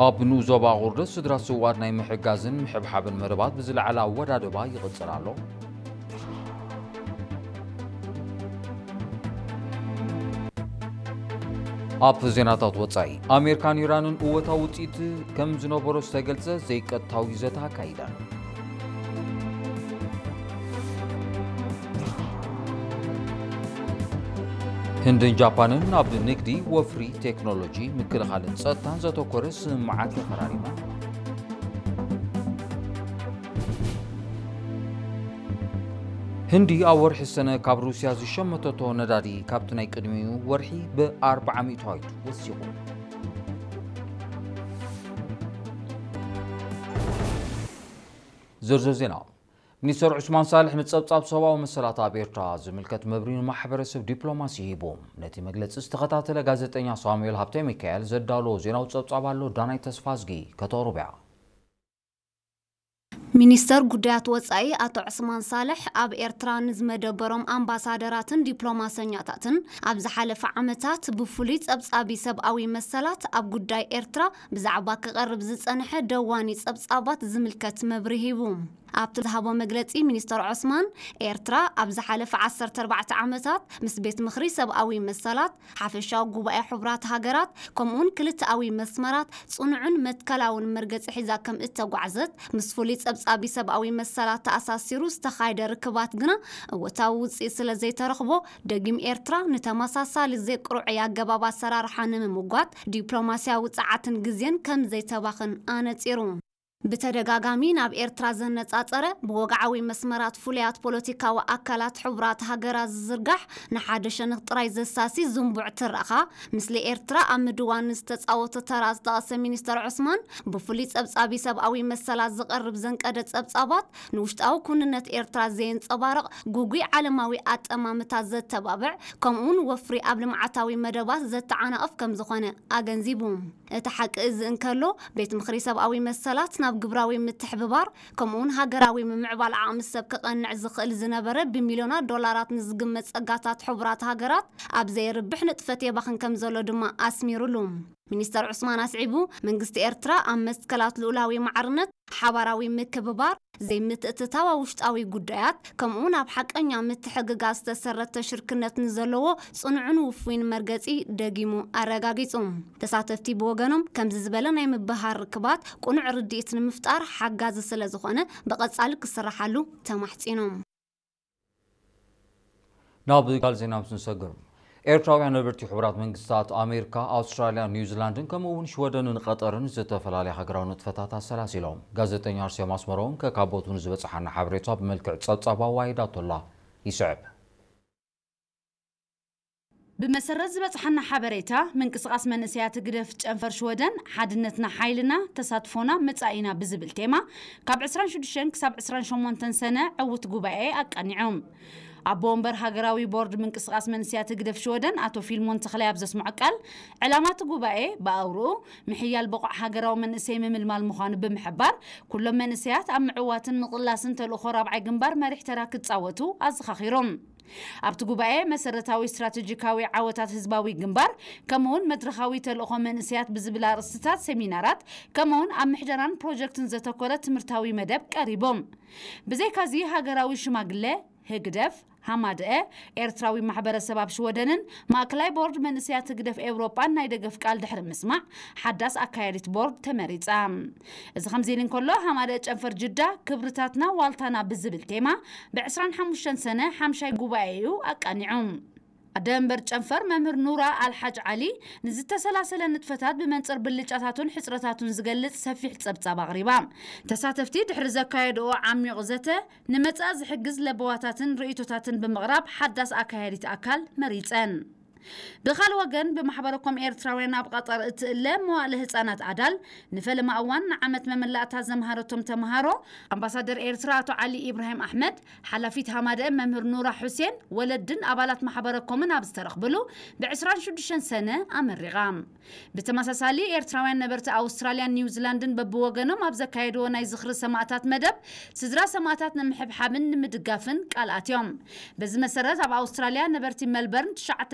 ኣብ ንኡስ ዞባ ቁርደስ ስድራ ስውኣት ናይ ምሕጋዝን ምሕብሓብን መደባት ብዝለዓለ ኣወዳድባ ይቕጽል ኣሎ። ኣብ ዜናታት ወጻኢ፣ ኣሜሪካን ኢራንን እወታዊ ውጽኢት ከም ዝነበሮ ዝተገልጸ ዘይቀጥታዊ ዘተ ኣካይደን። ህንድን ጃፓንን ኣብ ንግዲ፣ ወፍሪ፣ ቴክኖሎጂ፣ ምክልኻልን ጸጥታን ዘተኮረ ስምምዓት ተፈራሪመን። ህንዲ ኣብ ወርሒ ሰነ ካብ ሩስያ ዝሸመተቶ ነዳዲ ካብቲ ናይ ቅድሚኡ ወርሒ ብ ኣርብዓ ሚእታዊት ወሲኹ። ዝርዝር ዜና። ሚኒስተር ዑስማን ሳልሕ ንጸብጻብ ሰብኣዊ መሰላት ኣብ ኤርትራ ዝምልከት መብርሂ ንማሕበረሰብ ዲፕሎማሲ ሂቡ። ነቲ መግለጺ ዝተኸታተለ ጋዜጠኛ ሳሙኤል ሃብተ ሚካኤል ዘዳለዎ ዜናዊ ጸብጻብ ኣሎ፣ ዳናይ ተስፋዝጊ ከተቕርቦ እያ። ሚኒስተር ጉዳያት ወጻኢ ኣቶ ዑስማን ሳልሕ ኣብ ኤርትራ ንዝመደበሮም ኣምባሳደራትን ዲፕሎማሰኛታትን ኣብ ዝሓለፈ ዓመታት ብፍሉይ ጸብጻቢ ሰብኣዊ መሰላት ኣብ ጉዳይ ኤርትራ ብዛዕባ ክቐርብ ዝጸንሐ ደዋኒ ጸብጻባት ዝምልከት መብርሂ ሂቡ። ኣብቲ ዝሃቦ መግለጺ ሚኒስተር ዑስማን፣ ኤርትራ ኣብ ዝሓለፈ ዓሰርተ ኣርባዕተ ዓመታት ምስ ቤት ምኽሪ ሰብኣዊ መሰላት፣ ሓፈሻዊ ጉባኤ ሕቡራት ሃገራት፣ ከምኡውን ክልተኣዊ መስመራት ጽኑዕን መትከላውን መርገጺ ሒዛ ከም እተጓዕዘት፣ ምስ ፍሉይ ጸብጻቢ ሰብኣዊ መሰላት ተኣሳሲሩ ዝተኻየደ ርክባት ግና እወታዊ ውጽኢት ስለ ዘይተረኽቦ፣ ደጊም ኤርትራ ንተመሳሳሊ ዘይቅሩዕይ ኣገባብ ኣሰራርሓ ንምምጓት ዲፕሎማስያዊ ጸዓትን ግዜን ከም ዘይተባኽን ኣነጺሩ። ብተደጋጋሚ ናብ ኤርትራ ዘነጻጸረ ብወግዓዊ መስመራት ፍሉያት ፖለቲካዊ ኣካላት ሕቡራት ሃገራት ዝዝርጋሕ ንሓደ ሸነኽ ጥራይ ዘሳሲ ዝንቡዕ ትረኻ፣ ምስሊ ኤርትራ ኣብ ምድዋን ዝተጻወቶ ተራ ዝጠቐሰ ሚኒስተር ዑስማን፣ ብፍሉይ ጸብጻቢ ሰብኣዊ መሰላት ዝቐርብ ዘንቀደ ጸብጻባት ንውሽጣዊ ኩንነት ኤርትራ ዘየንጸባርቕ፣ ግጉይ ዓለማዊ ኣጠማምታ ዘተባብዕ፣ ከምኡውን ወፍሪ ኣብ ልምዓታዊ መደባት ዘተዓናቕፍ ከም ዝኾነ ኣገንዚቡ። እቲ ሓቂ እዚ እንከሎ፣ ቤት ምኽሪ ሰብኣዊ መሰላት ናብ ግብራዊ ምትሕብባር፣ ከምኡውን ሃገራዊ ምምዕባል ዓቕሚ ሰብ ክቐንዕ ዝኽእል ዝነበረ ብሚልዮናት ዶላራት ንዝግመት ጸጋታት ሕቡራት ሃገራት ኣብ ዘየርብሕ ንጥፈት የባኽን ከም ዘሎ ድማ ኣስሚሩሉ። ሚኒስተር ዑስማን ኣስዒቡ፣ መንግስቲ ኤርትራ ኣብ መትከላት ልኡላዊ ማዕርነት፣ ሓባራዊ ምክብባር፣ ዘይምትእትታው ኣብ ውሽጣዊ ጉዳያት፣ ከምኡውን ኣብ ሓቀኛ ምትሕግጋዝ ዝተሰረተ ሽርክነት ንዘለዎ ጽኑዕን ውፉይን መርገጺ ደጊሙ ኣረጋጊጹ። ተሳተፍቲ ብወገኖም፣ ከምዚ ዝበለ ናይ ምብህሃር ርክባት ቅኑዕ ርድኢት ንምፍጣር ሓጋዚ ስለ ዝኾነ፣ ብቐጻሊ ክስርሓሉ ተማሕጺኖም። ናብ ካልእ ዜና ምስ ንሰግር፣ ኤርትራውያን ነበርቲ ሕቡራት መንግስታት ኣሜሪካ፣ ኣውስትራልያ፣ ኒውዚላንድን ከምኡ እውን ሽወደንን ቀጠርን ዝተፈላለያ ሃገራዊ ንጥፈታት ኣሰላሲሎም። ጋዜጠኛ ኣርሴማ ኣስመሮም ከካቦቱ ንዝበጽሓና ሓበሬታ ብመልክዕ ጸብጻብ ኣዋሂዳቶላ። ይስዕብ። ብመሰረት ዝበጽሓና ሓበሬታ፣ ምንቅስቓስ መንእሰያት ህግደፍ ጨንፈር ሽወደን፣ ሓድነትና ሓይልና፣ ተሳትፎና መጻኢና ብዝብል ቴማ፣ ካብ ዕስራን ሽዱሽተን ክሳብ ዕስራን ሸሞንተን ሰነ ዕዉት ጉባኤ ኣቃኒዖም። ኣቦ ወንበር ሃገራዊ ቦርድ ምንቅስቓስ መንእሰያት ህግደፍ ሽወደን ኣቶ ፊልሞን ተኽላይ ኣብ ዘስምዖ ቃል፣ ዕላማ እቲ ጉባኤ ብኣውርኡ ምሕያል ብቑዕ ሃገራዊ መንእሰይ ምምልማል ምዃኑ ብምሕባር፣ ኩሎም መንእሰያት ኣብ ምዕዋትን ምቕላስን ተልእኾ ራብዓይ ግንባር መሪሕ ተራ ክጻወቱ ኣዘኻኺሮም። ኣብቲ ጉባኤ መሰረታዊ ስትራቴጂካዊ ዓወታት ህዝባዊ ግንባር፣ ከምኡውን መድረኻዊ ተልእኾ መንእሰያት ብዝብል ኣርእስትታት ሴሚናራት፣ ከምኡውን ኣብ ምሕደራን ፕሮጀክትን ዘተኮረ ትምህርታዊ መደብ ቀሪቦም። ብዘይካዚ ሃገራዊ ሽማግለ ህግደፍ፣ ሃማደአ፣ ኤርትራዊ ማሕበረሰብ ኣብ ሽወደንን ማእከላይ ቦርድ መንእሰያት ህግደፍ ኤውሮጳን ናይ ደገፍ ቃል ድሕሪ ምስማዕ፣ ሓዳስ ኣካያዲት ቦርድ ተመሪጻ። እዚ ከምዚ ኢሉ እንከሎ፣ ሃማደአ ጨንፈር ጅዳ፣ ክብርታትና ዋልታና ብዝብል ቴማ፣ ብ ዕስራን ሓሙሽተን ሰነ ሓምሻይ ጉባኤኡ ኣቃኒዑ። ኣደ መንበር ጨንፈር መምህር ኑራ ኣልሓጅ ዓሊ፣ ንዝተሰላሰለ ንጥፈታት ብመንጽር ብልጫታቱን ሕጽረታቱን ዝገልጽ ሰፊሕ ጸብጻብ ኣቕሪባ። ተሳተፍቲ ድሕሪ ዘካየድኦ ዓሚቕ ዘተ፣ ንመጻኢ ዝሕግዝ ለበዋታትን ርእይቶታትን ብምቕራብ ሓዳስ ኣካያዲት ኣካል መሪጸን። ብኻልእ ወገን፣ ብማሕበረኮም ኤርትራውያን ኣብ ቐጠር እትእለ መዋእለ ህጻናት ኣዳል፣ ንፈለማ እዋን ንዓመት መመላእታ ዘምሃረቶም ተምሃሮ፣ ኣምባሳደር ኤርትራ ኣቶ ዓሊ ኢብራሂም ኣሕመድ፣ ሓላፊት ሃማደአ መምህር ኑራ ሑሴን፣ ወለድን ኣባላት ማሕበረኮምን ኣብ ዝተረኽብሉ፣ ብ ዕስራን ሽዱሽተን ሰነ ኣመሪቓ። ብተመሳሳሊ፣ ኤርትራውያን ነበርቲ ኣውስትራልያን ኒውዚላንድን በብወገኖም ኣብ ዘካየድዎ ናይ ዝኽሪ ሰማእታት መደብ፣ ስድራ ሰማእታት ንምሕብሓብን ንምድጋፍን ቃል ኣትዮም። በዚ መሰረት፣ ኣብ ኣውስትራልያ ነበርቲ መልበርን ትሽዓተ